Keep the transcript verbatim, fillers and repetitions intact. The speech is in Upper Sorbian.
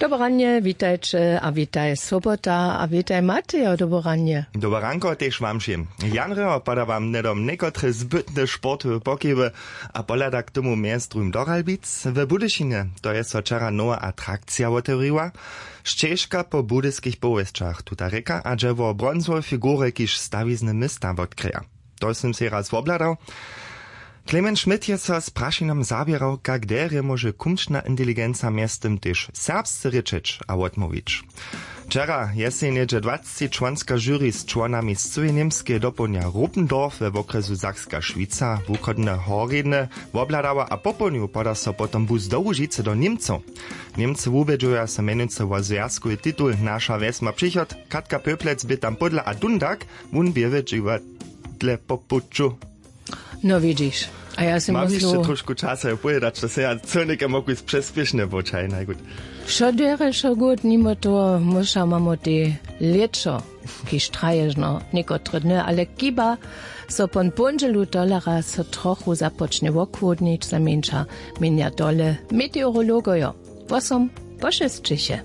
Dobre ranje, witajće a witaj swobota a witaj matejo, dobre ranje. Dobre ranko tež wam wšěm. Janreho poda wam hnydom někotre zbytne sportowe pokiwy a pohladach k tomu mjez druhim do Ralbic. W Budyšinje to je so wčera nowa atrakcija wotewriła. Šćežka po budyskich powěsćach tuta rěka a dźe wo bronzowe figury kiž stawizny města wotkryja. To sym sej raz wobhladał. Klemen Schmidt je so z prašinom zaběrał, kak derje móže kumčna inteligenca mjeztym tež serbsce rěčeć a wotmołwić. Wčera je sej něhdźe dwacci čłonska žuri z čłonami z cyłej Němskeje dopołdnja Ruppendorf we wokrjesu Sakska Šwica wuchodne horjedne wobhladała a popołdnju poda so potom bus do Łužicy do Němcow. Němcy wubědźuja so mjenujcy wo zwjazkowy titul Naša wjes ma přichod. Katka Pöplec bě tam pódla a dundak wón bě w dźiwadle po puću. No widźiš, a ja sym mam hišće myslił trošku časa jo powědać, to se ja co něke mógł přespěšnje poćahaj najgut. Wšo derje wšo gut, nimo toho muša mamo te lěćo, kiž traježno někotre dny, ale kiba so pon póndźelu tolara so trochu započnje wochłodnić, zamjeńša, měnja tole meteorologojo. Wosom pošesćiše.